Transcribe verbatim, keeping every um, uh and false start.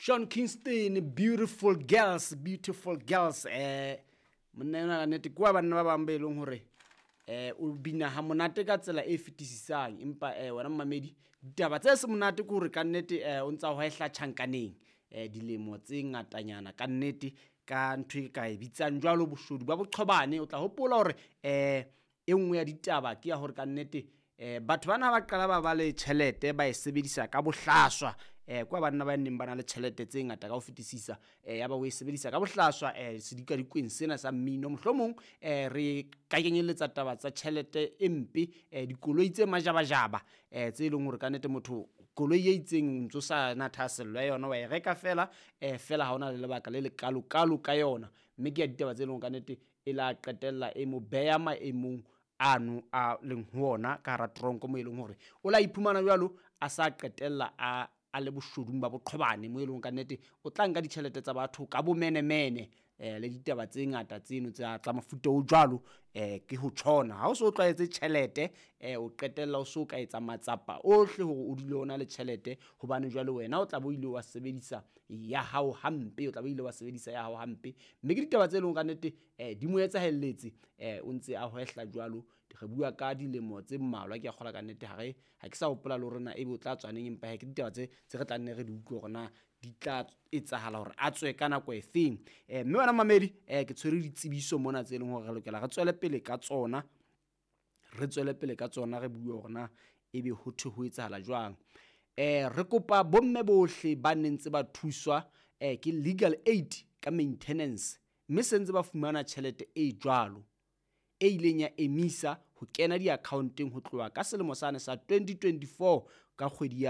Sean Kingston, "Beautiful Girls", "Beautiful Girls". eh monna ena ka nnete ke wa banna ba bang ba e leng hore eh o bina ha monate ka tsela e fetisisang. Empa eh wena mmamedi, ditaba tse se monate ke hore ka nnete eh o ntsa hwehla tjhankaneng eh dilemo tse ngatanyana ka nnete, ka ntho e ka e bitsang jwalo boshodu ba boqhobane. O tla hopola hore eh e nngwe ya ditaba ke ya hore ka nnete eh batho bana ba qala ba ba le tjhelete, ba e sebedisa ka bohlaswa. eh kwa banna ba neng ba na le tjhelete tse ngata ka ho fetisisa, eh ya ba o e sebedisa ka bohlaswa eh sedikadikweng sena sa mmino. Mohlomong eh re ka kenyelletsa taba tsa tjhelete e mpe, eh dikoloi tse majabajaba, eh tse leng hore ka nnete motho koloi e itseng ntso sa na thahasello ya yona, wa e reka fela, eh fela ha hona le lebaka le lekalo kalo ka yona. Mme ke ya ditaba tse leng hore ka nnete e la qetella e mo beya maemong ano a leng ho ona ka hara tronko, mo e leng hore o la iphumana jwalo a sa qetella a a le boshodung ba boqhobane, mo e leng ka nnete o tla nka ditjhelete tsa batho ka bomenemene, eh le ditaba tse ngata tseno tsa tsa mofuta o jwalo. eh ke ho tjhona ha o so tlwaetse tjhelete, eh o qetella o so ka etsa matsapa ohle hore o dule o na le tjhelete, hobane jwale wena o tla bo ile wa sebedisa ya hao hampe, o tla bo ile wa sebedisa ya hao hampe. Mme ke ditaba tse leng ka nnete eh di mo etsahelletse, eh o ntse a hwehla jwalo. Re bua ka dilemo tse mmalwa, ke a kgola ka nnete ha re ha ke sa hopola le hore na ebe o tla tswa neng, empa he ke ditaba tse tse re tla nne re di utlwe hore na di tla etsahala hore a tswe ka nako e feng. eh mme wena mamedi, eh ke tshwere ditsebiso mona tse leng hore re lokela re tswele pele ka tsona, re tswele pele ka tsona, re bue hore na ebe ho thwe ho etsahala jwang. eh re kopa bomme bohle ba neng ntse ba thuswa eh ke Legal Aid ka maintenance, mme se ntse ba fumana tjhelete e jwalo e ileng ya emisa ho kena di-account-eng ho tloha ka selemo sane sa twenty twenty-four ka kgwedi ya